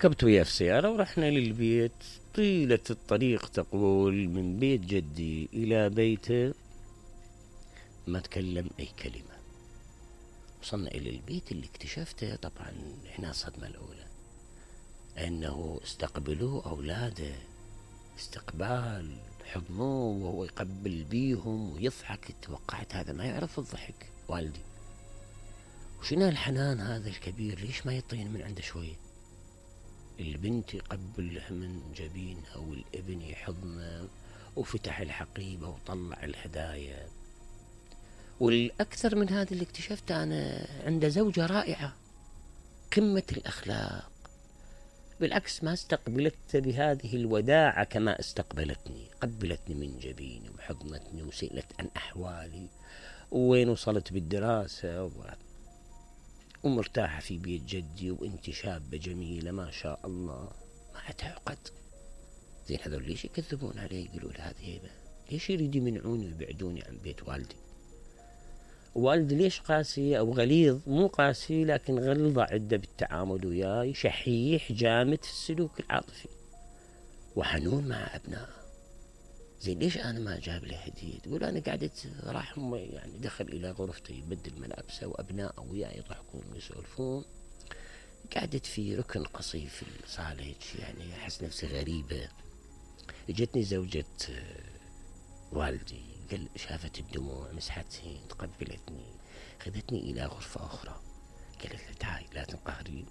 ركبت وياه في سيارة ورحنا للبيت. طيلة الطريق تقول من بيت جدي إلى بيته ما تكلم أي كلمة. وصلنا إلى البيت اللي اكتشفته طبعا هنا الصدمة الأولى، أنه استقبلوه أولاده استقبال، حضنوه وهو يقبل بيهم ويضحك. توقعت هذا ما يعرف الضحك والدي، وشنو الحنان هذا الكبير، ليش ما يطين من عنده شوية؟ البنت يقبلها من جبينها والابن يحضنه، وفتح الحقيبة وطلع الهدايا. والأكثر من هذا اللي اكتشفته أنا، عنده زوجة رائعة قمة الأخلاق، بالعكس ما استقبلت بهذه الوداعة كما استقبلتني. قبلتني من جبيني وحضنتني وسئلت عن أحوالي وين وصلت بالدراسة ومرتاحة في بيت جدي، وانت شابة جميلة ما شاء الله، ما تعقد. زين هذول ليش يكذبون علي؟ يقولوا له هذه هيبة، ليش يريد يمنعوني ويبعدوني عن بيت والدي؟ والدي ليش قاسي أو غليظ؟ مو قاسي لكن غلظة عدة بالتعامل وياي، شحيح جامد في السلوك العاطفي وحنون مع أبنائه. زين ليش أنا ما جاب لي هدية؟ تقول أنا قعدت راح يعني دخل إلى غرفته يبدل ملابسه وأبنائه وياي يضحكون ويسولفون، قعدت في ركن قصيف في الصالة يعني أحس نفسي غريبة. اجتني زوجة والدي، قال شافت الدموع مسحتني تقبلتني خذتني إلى غرفة أخرى، قالت لي تعالي لا تنقهرين.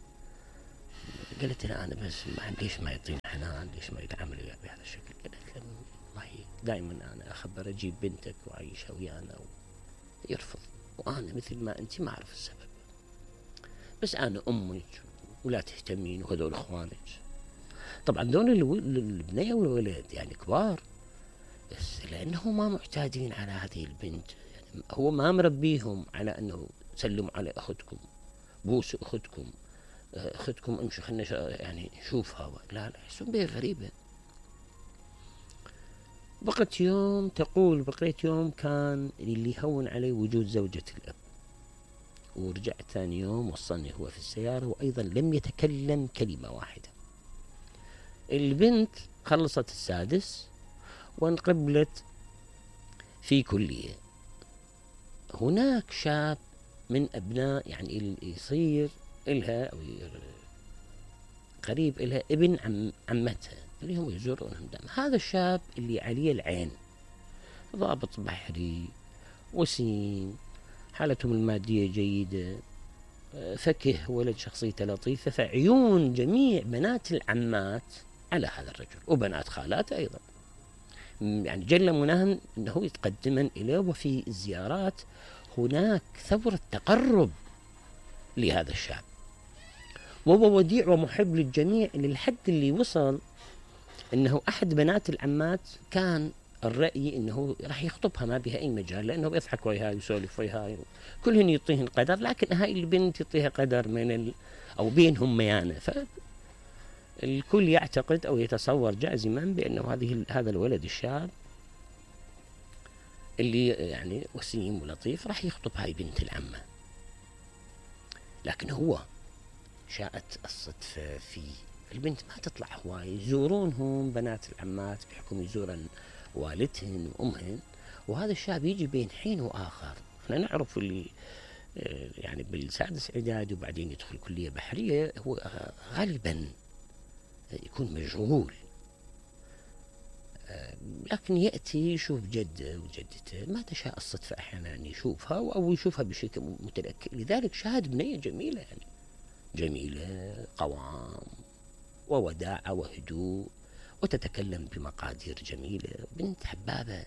قالت لها أنا بس ليش ما يعطيني حنان، ليش ما يتعامل وياي بهذا الشكل؟ قالت لها والله دائما أنا أخبر أجيب بنتك وأعيشها ويانا يرفض، وأنا مثل ما أنت ما أعرف السبب، بس أنا أمك ولا تهتمين وهذول إخوانك. طبعا دول البنية والولد يعني كبار، بس لأنه ما معتادين على هذه البنت، يعني هو ما مربيهم على أنه سلموا على أختكم، بوسوا أختكم، أختكم امشوا خلنا يعني نشوفها، لا يحسون بها غريبة. بقيت يوم، تقول بقيت يوم كان اللي يهون علي وجود زوجة الأب، ورجعت ثاني يوم وصلني هو في السيارة وأيضا لم يتكلم كلمة واحدة. البنت خلصت السادس وانقبلت في كلية. هناك شاب من أبناء يعني اللي يصير إلها أو قريب إلها ابن عمتها اللي هم يزورونهم دائما. هذا الشاب اللي عليه العين، ضابط بحري وسيم، حالتهم المادية جيدة، فكه، ولد شخصيته لطيفة، فعيون جميع بنات العمات على هذا الرجل وبنات خالاته أيضا، يعني جل مناهم أنه يتقدمن إليه. وفي الزيارات هناك ثورة تقرب لهذا الشاب، وهو وديع ومحب للجميع للحد اللي وصل أنه أحد بنات العمات كان الرأي أنه راح يخطبها ما بها أي مجال، لأنه بيضحك وياها ويسولف وياها، كلهن يعطيهن قدر، لكن هاي البنت يعطيها قدر من أو بينهم ميانة. فالكل يعتقد أو يتصور جازما بأنه هذا الولد الشاب اللي يعني وسيم ولطيف راح يخطب هاي بنت العمة. لكن هو شاءت الصدفة في البنت ما تطلع هواي، يزورونهم بنات العمات بحكم يزورن والدهن وأمهن، وهذا الشاب يجي بين حين وآخر. احنا نعرف اللي يعني بالسادس إعدادي وبعدين يدخل كلية بحرية هو غالبا يكون مشغول، لكن يأتي يشوف جده وجدته، ما تشاء الصدفة أحيانا أن يشوفها أو يشوفها بشكل متلكئ. لذلك شاهد بنية جميلة، يعني جميلة قوام ووداعة وهدوء، وتتكلم بمقادير جميلة، بنت حبابة.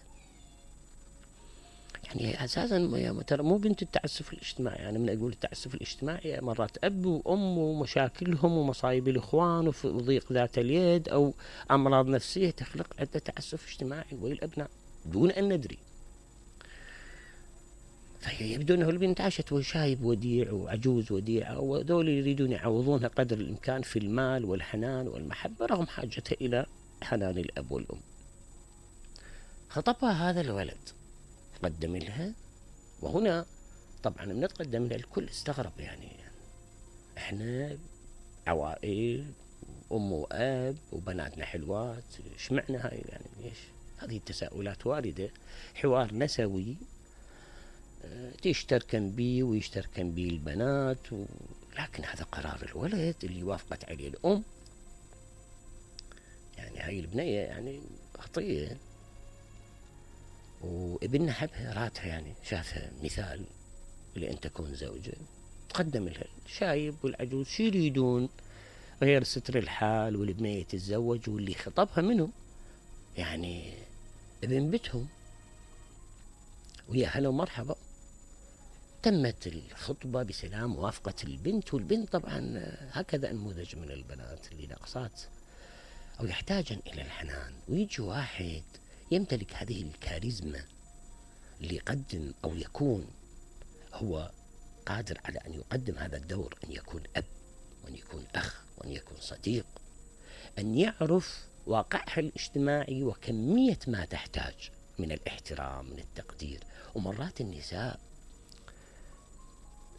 يعني أساسا ترى مو بنت التعسف الاجتماعي، يعني من أقول التعسف الاجتماعي مرات أب وأم ومشاكلهم ومصايب الإخوان وضيق ذات اليد أو أمراض نفسية تخلق عدة تعسف اجتماعي والأبناء دون أن ندري. فيبدو أنه البنت عاشت وشايب وديع وعجوز وديعة، وذول يريدون يعوضونها قدر الإمكان في المال والحنان والمحبة رغم حاجتها إلى حنان الأب والأم. خطبها هذا الولد، قدم لها، وهنا طبعا من تقدم لها الكل استغرب، يعني احنا عوائل وأم وأب وبناتنا حلوات، إيش معنى هاي يعني ليش؟ هذه التساؤلات واردة. حوار نسوي تشتركن بي ويشتركن بي البنات لكن هذا قرار الولد اللي وافقت عليه الأم. يعني هاي البنية يعني خطية، وابننا حبها راتها، يعني شافها مثال لأن تكون زوجة، تقدم لها الشايب والعجوز شو يريدون غير ستر الحال والبنية تتزوج واللي خطبها منه يعني ابن بيتهم، ويا هلا ومرحبا. تمت الخطبة بسلام، موافقة البنت، والبنت طبعا هكذا نموذج من البنات اللي ناقصات أو يحتاجن إلى الحنان، ويجي واحد يمتلك هذه الكاريزما اللي يقدم أو يكون هو قادر على أن يقدم هذا الدور، أن يكون أب وأن يكون أخ وأن يكون صديق، أن يعرف واقعها الاجتماعي وكمية ما تحتاج من الاحترام من التقدير. ومرات النساء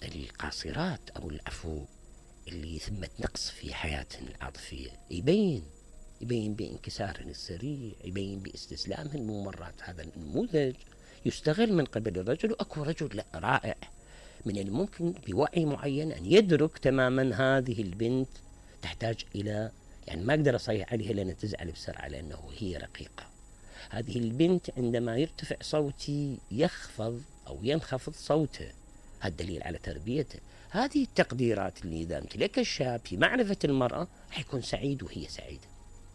القاصرات أو العفو اللي ثمة نقص في حياتهن العاطفية يبين بانكسارهن السريع، يبين باستسلامهن. مو مرات هذا النموذج يستغل من قبل الرجل، وأكو رجل لا رائع من الممكن بوعي معين أن يدرك تماما هذه البنت تحتاج إلى، يعني ما أقدر أصيح عليها لأن تزعل بسرعة لأنه هي رقيقة. هذه البنت عندما يرتفع صوتي يخفض أو ينخفض صوته، هذا دليل على تربيته. هذه التقديرات اللي إذا امتلكها الشاب في معرفة المرأة حيكون سعيد وهي سعيدة.